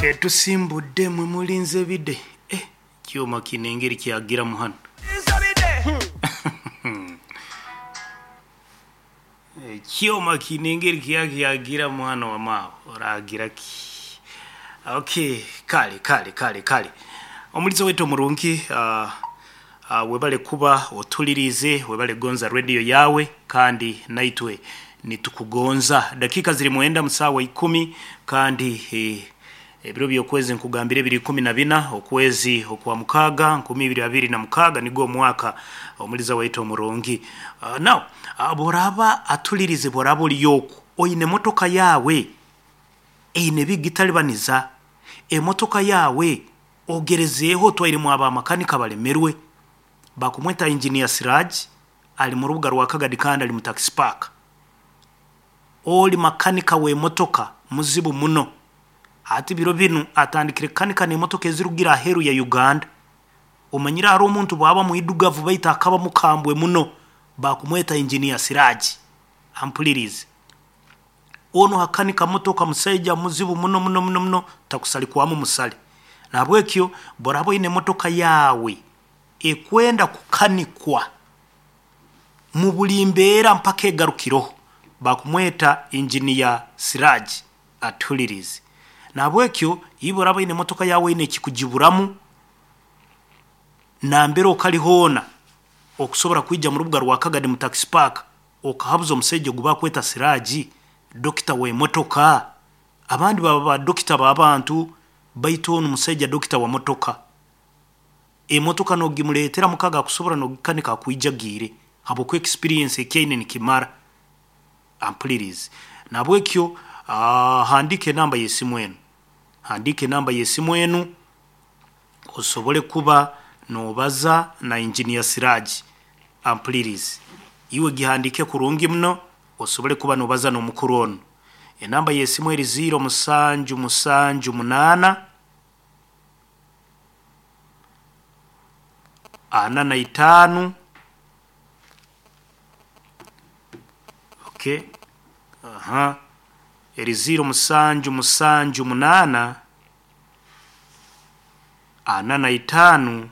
Tusimbudde mwe mulinze bide. Eh, kyoma kino engeri kyagiramu hano. Ekyoma kino engeri kyakyagiramu hano, wamaawo oragira ki? Okay, kale kale kale kale, omulizo wetu omurungi, webale kuba otulirize, webale gonza radio yawe, kandi naitwe nitukugonza. Dakika ziri 9 musawa 10, kandi ebiro byokwezi nkugambire biri 14 okwezi okwa 6 2026 nigwo omwaka. Omuliza waitu omurungi, now boraba atulirize, boraba oliyoku oine motoka yawe eine bigitalibaniza emotoka yawe, ogerezeeho otwairemu abamakanika balemerwe, bakumweta Engineer Siraj, ali mu rubuga rwa Kagadi kandi ali mu taxi park. Oli makanika w'emotoka muzibu muno. Hati biro binu atandikire kukanika n'emotoka ezirugire aheeru ya Uganda. Omanyire hariho omuntu bwaba mwidugavu baitu akaba mukambwe muno, bakumweta Engineer Siraj, ampulirize. Onu akanika motoka musaija muzibu muno muno muno muno, takusalikwamu musale. Nahabwekyo boraba oine emotoka yawe ekwenda kukanikwa mu buli mbeera mpaka egarukireho, bakumweta Engineer Siraj, atuhulirize. Nahabwekyo iwe oraba oine emotoka yawe eine ekikugiburamu, nambere okali hoona okusobora kwija mu rubuga rwa Kagadi mu taxi park okahabuza omusaija ogu bakweta Siraj, dokita w'emotoka. Abandi baba ba dokita b'abantu, baitu onu musaija dokita wa motoka. Emotoka nogimuleetera mukaga akusobora nogikanika akwijagiire, habwokuba experience ekyaine nikimara. Ampulirize. Nahabwekyo handiika enamba y'esimu enu, handiika enamba y'esimu enu osobole kuba nobaza na Engineer Siraj. Ampulirize, iwe gihandiike kurungi muno osobole kuba nobaza n'omukuru onu. Enamba y'esimu eri 0778 45, okay, aha, eri 0778 45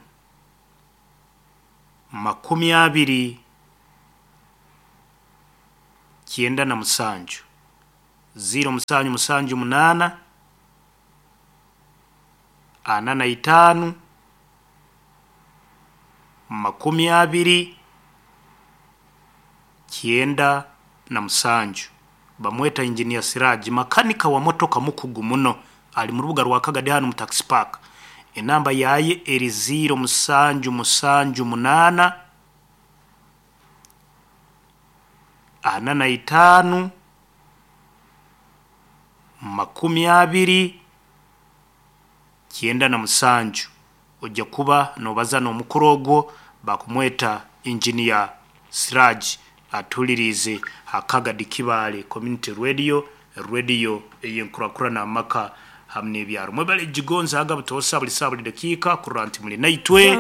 20 97, 0778 45 20 97. Bamweta Engineer Siraj, makanika wa motoka mukugu muno, ali mu rubuga rwa Kagadi hanu mu taxi park. Enamba yaye eri 0778 45 20 97. Ojja kuba nobaza n'omukuru ogwo bakumweta Engineer Siraj, atuhuliriize ha Kagadi Kibaale Community Radio, radio ey'enkurakurana amaka hamu n'ebyaro. Mwebale gigonzaaga butoosa buli saaha buli dakiika kurora nti muli naitwe.